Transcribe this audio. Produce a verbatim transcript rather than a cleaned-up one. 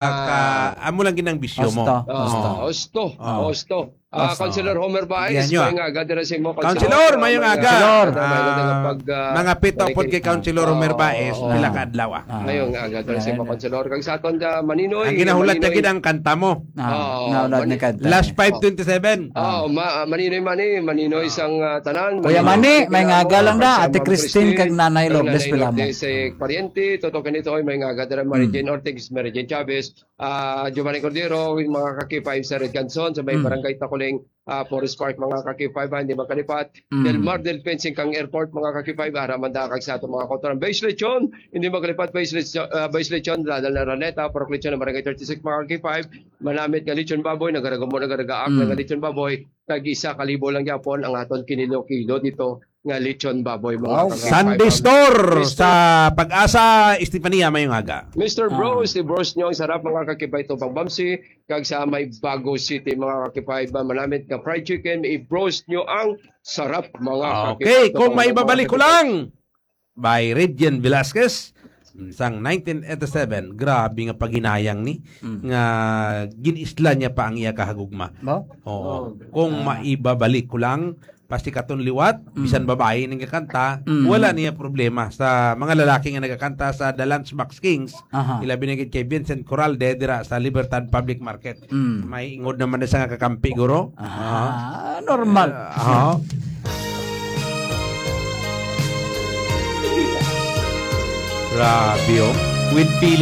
ka, amo lang ginang bisyo mo. Osto, Oo. osto. Osto. Oo. Osto. Ah, Osto. Councilor Homer Baez, Yan yun. Mayong aga dira sa imo, Councilor, Councilor. Mayong Mayong aga. aga. Councilor. Mayong aga, Ah, pag, ah, mga pito pod kay Councilor Homer Baez, Oo. pila ka adlaw, ah. Ah. Mayong aga dira sa imo, Yan. Councilor. Kag sa aton, ah, Maninoy, Ang ginahulat Maninoy. Lagi ang kanta mo. Ah, Oo, nahulat Mani-, ni kanta. Last five twenty-seven. Oo, ma-, Maninoy, Mani, Maninoy Ah. sang, ah, tanan. Kuya Maninoy, Mani, Maninoy, mayong aga lang na, Ate Ma'am Christine, Christine, kag Nanay kag Lourdes Nanay Pilamon. Lourdes, eh, pariente, Toto Kanito, ay mayong aga dira, Mary Mm. Jane Ortiz, Mary Jane Chavez, ah, Giovanni Cordero, yung mga ka-K five sa Red Canson, sa may Mm. Barangay Takuling, ah, Forest Park, mga ka-K five, ah, hindi magkalipat. Mm. Del Mar, Del Fencing kang airport, mga ka-K five, ara man da kag sa ato mga kautoran. Base Lechon, hindi magkalipat, Base Lechon, ah, Base Lechon, Dadal na Raneta, Purok Lechon, ng Barangay thirty-six, mga ka-K five, manamit nga lechon baboy, nagaragamo, nagaragaak, Mm. nga lechon baboy, tag isa ka libo lang gyapon ang aton kinilo-kilo dito nga lechon baboy, mga Wow. ka-K five. Sunday Store Mister sa Pag-asa, Estefania, mayong aga. Mister Ah. Bros, i-bros nyo ang sarap, mga ka-K five, to pagbamsi, kag sa may Bago City, mga ka-K five, ba, manamit nga fried chicken, i-bros nyo ang sarap, mga ka-K five, Okay, to kung pagbamsi, maibabalik mga ko ka-K five. lang, by Regine Velasquez, sang nineteen eighty-seven, grabe nga paghinayang ni, Mm. nga gin-isla niya pa ang iya kahagugma. Ba? Oo. Oh. Kung Ah. maibabalik ko lang, pasti katon liwat, Mm. bisan babae nang kakanta, Mm. wala niya problema sa mga lalaki nga nagakanta sa The Lunchbox Kings, Aha. ilabi na gid kay Vincent Coralde dira sa Libertad Public Market. Mm. May ingod naman na sa nga kakampi, guro. Ah, Ah. normal. Ah, ah. Grabe, oh. With feeling.